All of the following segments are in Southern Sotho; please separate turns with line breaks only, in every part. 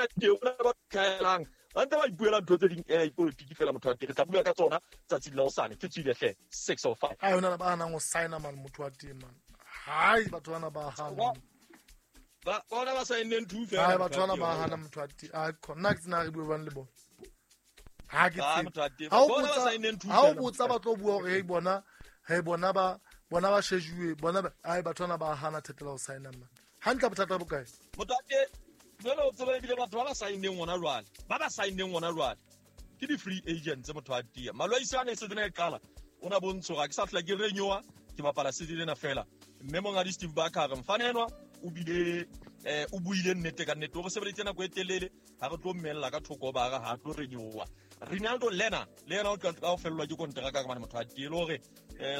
na teng o na ba tlhaelang ba ntse ba ipuela ntho tse ding ipolotiki fela motho wa teng re tla bua ka tsona tsatsing la hosane ke tswile hle 6:05.
Ai hona le ba hanang ho signa man motho wa teng man. Hai batho bana ba hana.
Ba bona ba saenneng two fela.
Hai batho bana ba hana motho wa teng. Ai khona ke tsena re bue bang le bona. Ha ke tsebe. Ha o botsa ha o botsa ba tlo bua hore hey bona hey bona ba bona ba shejuwe bona ai batho bana ba hana thetela ho signa man. Hantle bothata bo kae?
Motho wa teng jwale o tseba ebile batho ba ba saenneng gona jwale ba ba saenneng gona jwale ke di-free agents motho wa tia malwaisi a ne season e qala o na bontsho ga ke sa tlhola ke renyoa ke bapala season ena fela mme mongadi Steve Barker re mfane enwa o bile o buile nnete ka nnete o re sebeleditse nako e telele ga re tlo mmelela ka thoko ba ga ga tlo renyoa Rinaldo Lena le yena o tla o fellwa ke konteraka ka mane motho wa tie le hore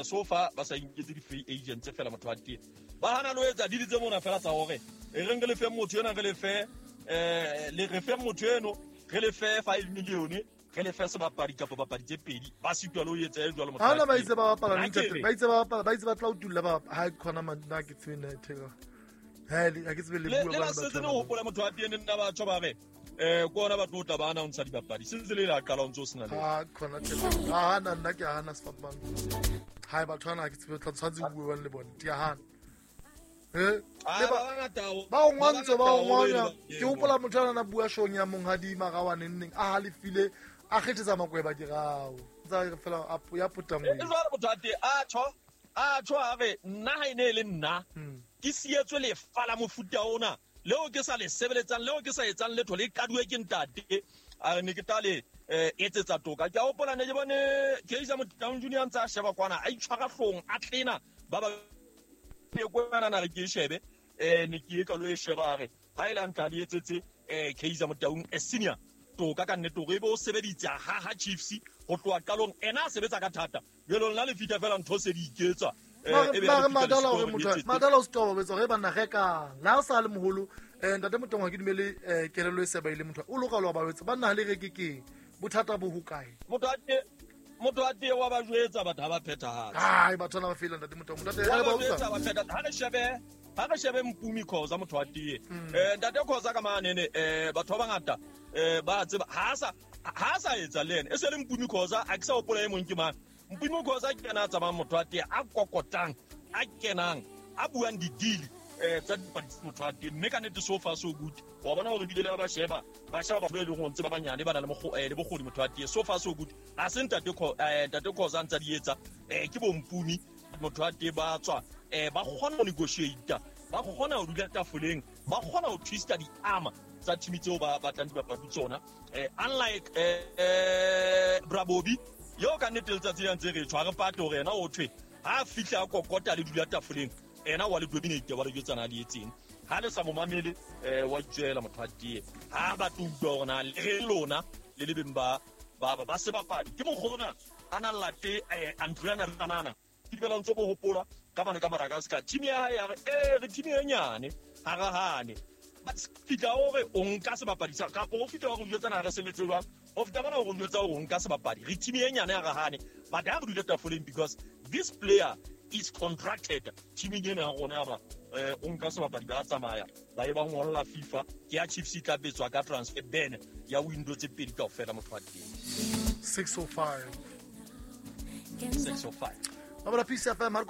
so far ba sa inketse di-free agents fela motho wa tie ba hana lo etsa dili tse mona fela tsa hore e reng re lefe motho ena re lefe le re fe motho eno re lefe 5 million re lefe sebapadi kapa bapadi tse pedi ba sitwa le ho etsa e jwalo motho
wa ba itse ba bapala ntate ba itse ba bapala ba itse ba tla utulla ba ha khona man na ke tsebe na theka ha ke tsebe le bua
ba ba setse ne hopola motho wa tie ne nna ba tsho ba re ko ona ba tlo tla ba announce dibapadi sentse le la qala o ntse o sena le
ha khona tjhe ha na nna ke hana sefapano ha batho bana ke tsebe tla tshwantse bua bang le bone ke hana ba o ngwantse ba o ngwanya ke hopola motho ana na bua shong ya monghadi magawane nneng a halefile a kgethetsa makweba ke rao tsa re fela ya potang
e jwale motho a te a tjho a tjho a re nna ha ene e le nna ke sietswe lefa la mofuta ona leo ke sa le sebeletsang leo ke sa etsang letho le kaduwe ke ntate a re ne ke tla le etsetsa toka ke a hopola ne ke bone Kaizer Motaung Junior ntse a sheba kwana a itshwara hlong a tlena ba ba kwana na re ke shebe ne ke etla lo e sheba a re ha ile ntla le etsetse Kaizer Motaung a senior toka ka nnete hore ebe o sebeditse ha ha Chiefs ho tloha qalong ena a sebetsa ka thata jalo nna le fitha fela ntho se di iketsa
mare madala gore motho madala o setoba betsa gore banna rekang la o sa le moholo ntate Motaung ha ke dumele kelello e seba ile motho o loka lo ba wetsa banna ha le reke keng bothata bo ho kae
motho a tee wa ba jwetsa batho ha ba phethahatse
ai batho ba fela ntate Motaung ntate
wa ba jwetsa ba phetha ha re shebe Mpumi Khoza motho wa tee ntate Khoza ka manene batho ba bangata ba tseba ha sa etsa le ene e se le Mpumi Khoza a ke sa hopola e mong ke mang Mpumi Khoza ke ena a tsamayang motho wa tee a kokotang a kenang a buang di-deal tsa dipadi motho wa tee mme ka nnete so far so good wa bona hore bile le ba sheba batho ba e leng hore ntse ba banyane ba na le bokgoni motho wa tee so far so good ha se ntate Khoza ntsa di etsa ke bo Mpumi motho wa tee ba tswa ba kgona ho negotiate ba kgona ho dula tafoleng ba kgona ho twista di-arm tsa team tseo ba batlang dibapadi tsona unlike Brabobi yo ka nnete letsatsi le ntse re tshwa re pate hore yena o thwe ha fihla a kokota le dula tafoleng ena wa le dominate wa le jwetsana le etseng ha le sa mo mamele wa tswela motho wa tee ha ba tlo utlwa hore na le lona le le beng ba ba sebapadi ke mokgona a na late Andriana Ranana ke dumela ntse bo hopola ka mane ka Madagascar team ya hae ya re re team e nyane ha re hane fitla hore o nka sebapadi sa kapa o fitla hore o jwetsana re sebetse jwang o fitla bana hore o jwetsa hore o nka sebapadi re team e nyane ha re hane but ha re dule tafoleng because this player is contracted teaming ena ya rona ya ba o nka sebapadi ba tsamaya ba e ba ngolla FIFA ke ya Chiefs e tla betswa ka transfer ban ya window tse pedi kaofela motho wa teng
605
605
ba bala Peace FM ha re